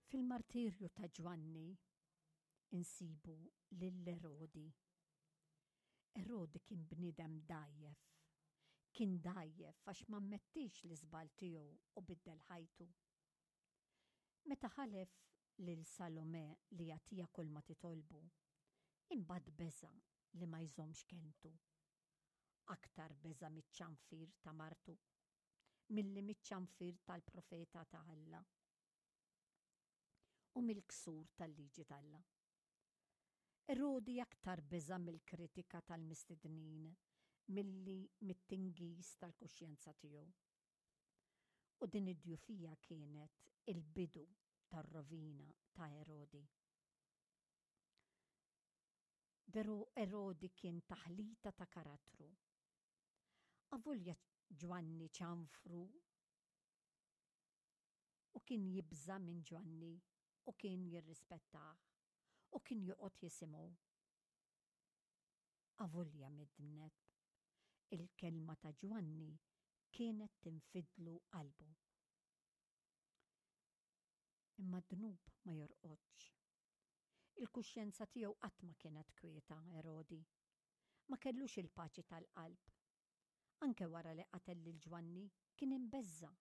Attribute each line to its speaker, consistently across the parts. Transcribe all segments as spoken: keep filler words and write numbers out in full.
Speaker 1: Fil-martirju ta' Ġwanni insibu lil Erodi. Erodi kien bniedem dgħajjef. Kien dgħajjef għax ma ammettix l-iżball tiegħu u biddel ħajtu. Meta ħalef lil Salome li jagħtiha kull ma titolbu, imbagħad beża' li ma jżommx kelmtu. Aktar beża' miċ-ċanfir ta' martu milli miċ-ċanfir tal-profeta ta' Alla u mill-ksur tal-liġi t'Alla. Erodi aktar beża' mill-kritika tal-mistednin milli mit-tingiż tal-kuxjenza tiegħu. U din id-djufija kienet il-bidu tar-rovina ta' Erodi. Veru Erodi kien taħlita ta' karattru. Avolja Ġwanni ċanfru u kien jibża' minn Ġwanni u kien jirrispettah u kien joqgħod jisimgħu. Avolja midneb, il-kelma ta' Ġwanni kienet tinfidlu qalbu. Imma d-dnub ma jorqodx. Il-kuxjenza tiegħu qatt ma kienet kwieta, Erodi. Ma kellux il-paċi tal-qalb. Anke wara li qatel lil Ġwanni kien imbeżża'.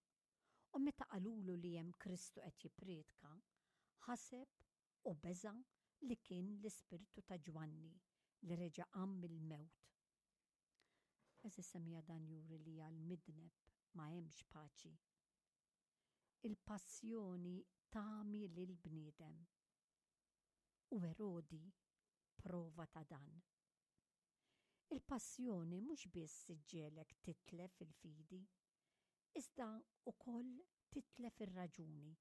Speaker 1: U meta qalulu li hemm Kristu qed jippriedka, ħaseb u beża' li kien l-ispirtu ta' Ġwanni li reġa' qam mill-mewt. Għeżież semmiegħa, dan juri li għall-midneb ma hemmx paċi. Il-passjoni tagħmi lill-bniedem. U Erodi prova ta' dan. Il-passjoni mhux biss iġġegħlek titlef il-fidi, iżda wkoll titlef ir-raġuni.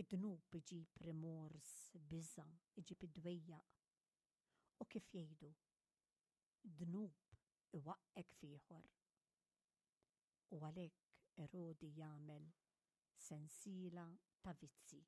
Speaker 1: Id-dnub iġib rimors, biża', iġib id-dwejjaq. U kif jgħidu, dnub iwaqqgħek f'ieħor. U għalhekk Erodi jagħmel sensiela ta' vizzi.